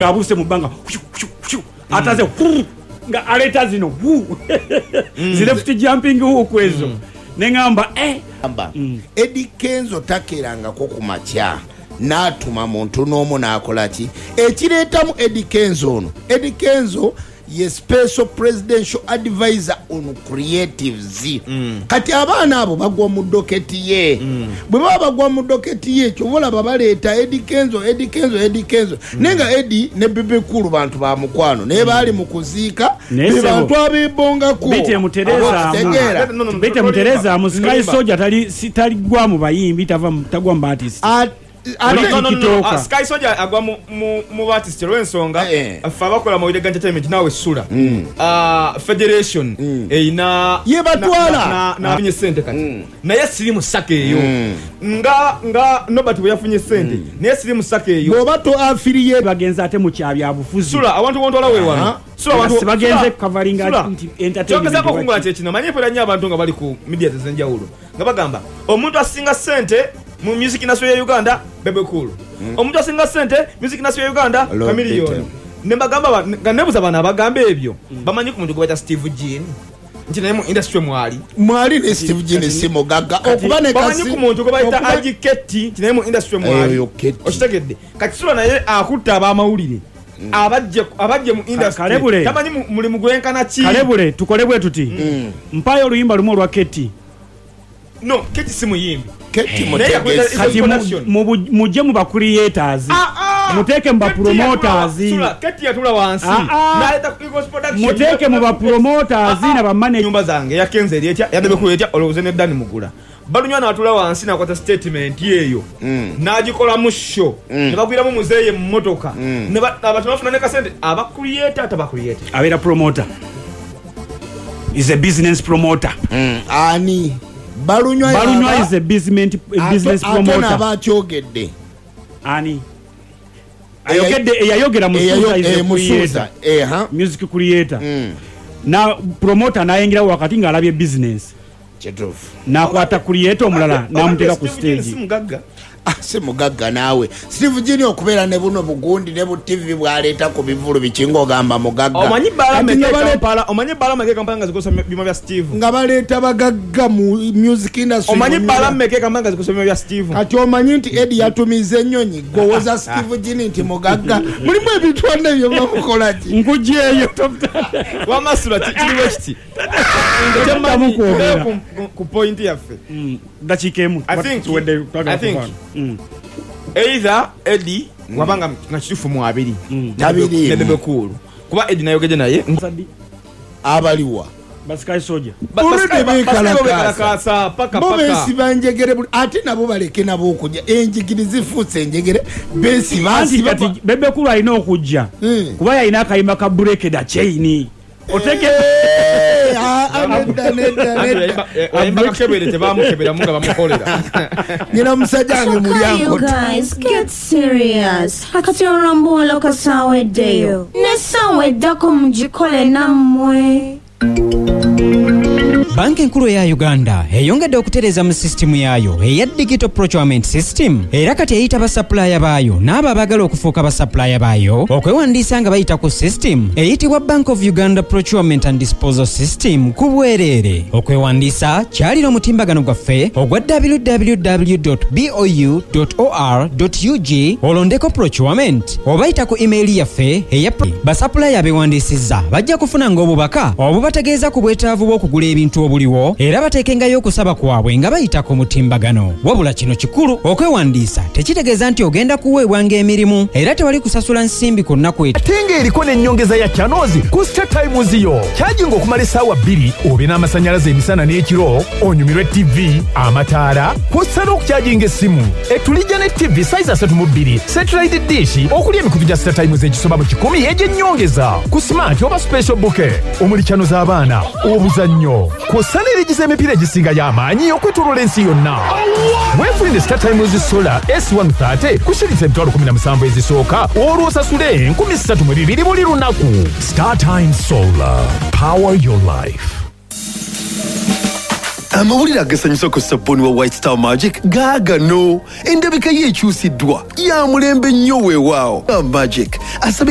Ng'abuuse mu bbanga ataze nga aleeta zino zi left jumping hook ezo ne ŋŋamba eh. Eddy Kenzo takeerangako ku makya n'atuma muntu n'omu n'akola ki? Ekireetamu Eddy Kenzo ono, Eddy Kenzo ye Special Presidential Advisor on Creatives. Kati abaana abo bagwa mu doketi ye. Bwe baba bagwa mu doketi ye, kyova olaba baleeta Eddy Kenzo, Eddy Kenzo, Eddy Kenzo. Naye nga Eddy ne Bebe Cool bantu ba mukwano naye baali mu kuziika Naye be ssebo, bantu abeebongako. Bite mutereezaamu. Okitegeera? Bite mutereezaamu, Sky Soldier tali si taligwa mu bayimbi, tava mu tagwa mu baartist. Ate Oli No, no, no, no. TikToker. Sky Soldier agwa mu, mu, mu baartist olw'ensonga Eh. ffe abakola mawulire ga entertainment naawe sula Federation erina Yebatwala. nafunye sente kati naye siri mu sako eyo nga nga Nobert bwe yafunye sente naye siri mu sako eyo. Bw'oba to affiliate Bagenze ate mu kya byabufuzi. Sula awantu wontwala we wano. Sula Nga awantu sibagenze Sula, kukavaringa Sula. nti entertainment Kyogezaako okungula waki. kye kino manyi mpulira nnyo abantu nga bali ku media ez'enjawulo nga bagamba omuntu asinga sente mu music industry ya Uganda Bebe Cool. Omuntu asinga sente music industry ya Uganda Lord Chameleone. Peter. Ne mbagamba ba- nga nebuza bano abagamba ebyo bamanyi ku muntu gwe bayita Steve Jean nti naye mu industry mwali. Mwali ne Steve Jean si mugagga okuba ne Bamanyi kasi ku muntu gwe bayita okuba Aji Ketti nti naye mu industry mwali. Eyo Ketti. Okitegedde. Kati Sula naye akutte abamawulire abajje abajje mu industry. Kalebule. Tamanyi mu- mulimu gwenkana ki. Kalebule tukole bwe tuti. Mpaayo oluyimba lumu olwa Ketti. No, Ketti si muyimbi. Ketti Naye yakweta- mutegesi. Kati Production. mujje mu ba creators. Muteeke mu ba Ketti yatula- promoters. Sula, Ketti yatula wansi. N'aleeta Eagles Production. Muteeke mu ba promoters na ba manager. Nyumba zange eya Kenzo eri etya, eya Bebe Cool etya, olowooze ne Danny Mugula. Balunywa n'atula wansi n'akwata statement eyo n'agikolamu show ne bagwiramu muzeeyi mu mmotoka ne ba- abantu bafuna ne kasente aba creator ataba creator. Abeera promoter. Is a business promoter. Ani? Balunywa Balunywa yaba- is a business, a business ate promoter. n'aba akyogedde. Ani? Ayogedde eyayogera Musuuza is a Musuuza, creator. ha. Music creator. Na promoter n'ayingirawo wakati ng'alabye business. Kituufu. N'akwata creator omulala n'amuteeka ku Steve Jean si stage. mugagga. Si mugagga naawe. Steve Jean okubeera ne buno bugundi ne bu TV bw'aleeta ku bivvulu biki ng'ogamba mugagga. Omanyi bbaala Kati meka nga e baleeta Kampala, omanyi bbaala meka e Kampala nga zikosa byuma bya Steve. Nga baleeta bagagga mu music industry. Omanyi mu bbaala New meka e Kampala nga zikosa byuma bya Steve. Kati omanyi nti Eddie yatumiza ennyonyi gwowoza Steve Jean nti mugagga. Mulimu ebintu wanne bye bamukola ki? Nkugyeyo. Wamma Sula kiri bwe kiti. Toddamu kwogera. Ku point yaffe. Dakiika emu. I Tuwedde twagala think kuvaano. Either Eddie wabanga nga kituufu mu abiri. Tabiriimu. Ne Bebe Cool. Kuba Eddie nayogedde naye. Sadi. Abaliwa. Ba Sky Soldier. Already beekalakaasa. Beekalakaasa paka Bo paka. beesiba njegere buli ate nabo baleke nabo okujja enjigiri zifuuse enjegere beesiba Anti asiba kati Bebe Cool alina okujja kuba yalina akayimba ka break the chain. Oteke Eh, nedda, nedda, Anti nedda. yayimba kakebere tebamukeberamu nga bamukolera. Nyina musajja wange Kyokka you mulyankota. guys, get serious. Kati olwambuwala kasaawa eddeyo. N'essaawa eddako mugikole nammwe. Banka enkulu eya Uganda eyongedde okutereeza mu sisitimu yaayo eya Digital Procurement System era kati eyita basapulaya baayo n'abo abaagala okufuuka basapulaya baayo okwewandiisa nga bayita ku system eyitibwa Bank of Uganda Procurement and Disposal System ku bwereere. Okwewandiisa kyalira omutimbagano gwaffe ogwa www.bou.or.ug olondeko procurement oba yita ku email yaffe eya basapulaya abeewandiisizza bajja kufunanga obubaka obubategeeza ku bwetaavu bw'okugula ebintu obuliwo era bateekengayo okusaba kwabwe nga bayita ku mutimbagano. Wabula kino kikulu, okwewandiisa tekitegeeza nti ogenda kuweebwanga emirimu era tewali kusasula nsimbi ku nnaku Ate ng'eriko n'ennyongeza ya channels ku Star Times yo. Kyajinga okumala essaawa bbiri obe n'amasannyalaze emisana n'ekiro, onyumirwe TV, amataala, kw'ossa n'okukyajinga essimu. Etulijja ne TV size 32, satellite dish, okuli emikutu gya Star Times egisoba mu 100 egy'ennyongeza. Ku smart oba special bouquet, omuli channel z'abaana, obuzannyo, kw'ossa n'erigiza emipiira egisinga y'amaanyi okwetooloola ensi yonna. Weefunire Star Times Solar S130 ku shilingi 17000 ezisooka, olwo osasule 3200 buli lunaku. Star Times Solar, power your life. Amawulire agasanyusa ku sabbuuni wa White Star Magic gaagano endabika ye ekyusiddwa ya mulembe nnyo weewaawo Magic asabika.